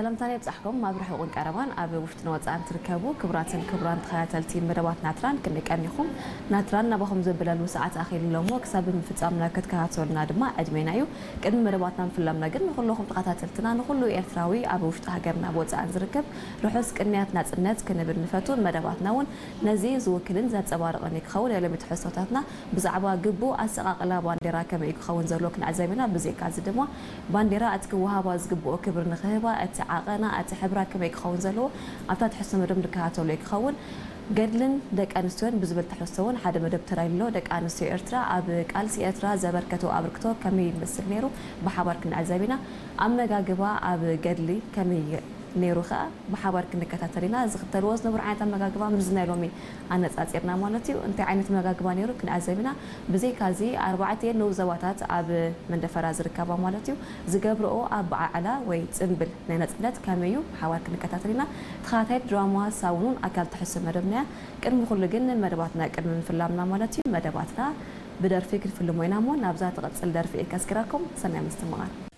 ሰላምታና ይብጻሕኩም። ኣብ ርሑቕን ቀረባን ኣብ ውሽጥን ወጻእን ትርከቡ ክቡራትን ክቡራን ተኸታተልቲ መደባት ናትራን ክንደይ ቀኒኹም? ናትራን ናባኹም ዘብለሉ ሰዓት ኣኺሉ ኣሎ እሞ ክሳብ ምፍጻምና ክትከታተሉና ድማ ዕድሜና እዩ። ቅድሚ መደባትና ምፍላምና ግን ንኹለኹም ተኸታተልትና ንኹሉ ኤርትራዊ ኣብ ውሽጢ ሃገርና ኣብ ወጻእን ዝርከብ ርሑስ ቅንያት ናጽነት ክንብል ንፈቱ። መደባትና እውን ነዚ ዝውክልን ዘንጸባርቕን እዩ ክኸውን። ናይ ሎሚ ትሕዝቶታትና ብዛዕባ ግቡእ ኣሰቓቕላ ባንዴራ ከመይ እዩ ክኸውን ዘለዎ ክንዕዘብ ኢና። ብዘይካ እዚ ድማ ባንዴራ እቲ ክወሃባ ዝግብኦ ክብሪ ንኽህባ፣ እቲ ዓቐና፣ እቲ ሕብራ ከመይ ክኸውን ዘለዎ ኣብታ ትሕዝቶ መደብ ንከታተሎ እዩ ክኸውን። ገድልን ደቂ ኣንስትዮን ብዝብል ትሕዝቶ እውን ሓደ መደብ ተዳልዩ ኣሎ። ደቂ ኣንስትዮ ኤርትራ ኣብ ቃልሲ ኤርትራ ዘበርከቶ ኣበርክቶ ከመይ ይመስል ነይሩ ብሓባር ክንዕዘብ ኢና። ኣመጋግባ ኣብ ገድሊ ከመይ ነይሩ ከኣ ብሓባር ክንከታተል ኢና። ዝኽተልዎ ዝነበሩ ዓይነት ኣመጋግባ ምስ ናይ ሎሚ ኣነጻጺርና ማለት እዩ። እንታይ ዓይነት ኣመጋግባ ነይሩ ክንዕዘብ ኢና። ብዘይካ እዚ ኣርባዕተ ንኡስ ዞባታት ኣብ መንደፈራ ዝርከባ ማለት እዩ ዝገብርኦ ኣበዓዕላ ወይ ጽምብል ናይ ናጽነት ከመይ እዩ ብሓባር ክንከታተል ኢና። ተኸታታይት ድራማ ሳውኑን ኣካል ትሕዝቶ መደብና እያ። ቅድሚ ኩሉ ግን መደባትና ቅድሚ ምፍላምና ማለት እዩ መደባትና ብደርፊ ክንፍልሞ ኢና እሞ ናብዛ ትቕጽል ደርፊ እየ ከስክረኩም። ሰናይ ምስትምቓር።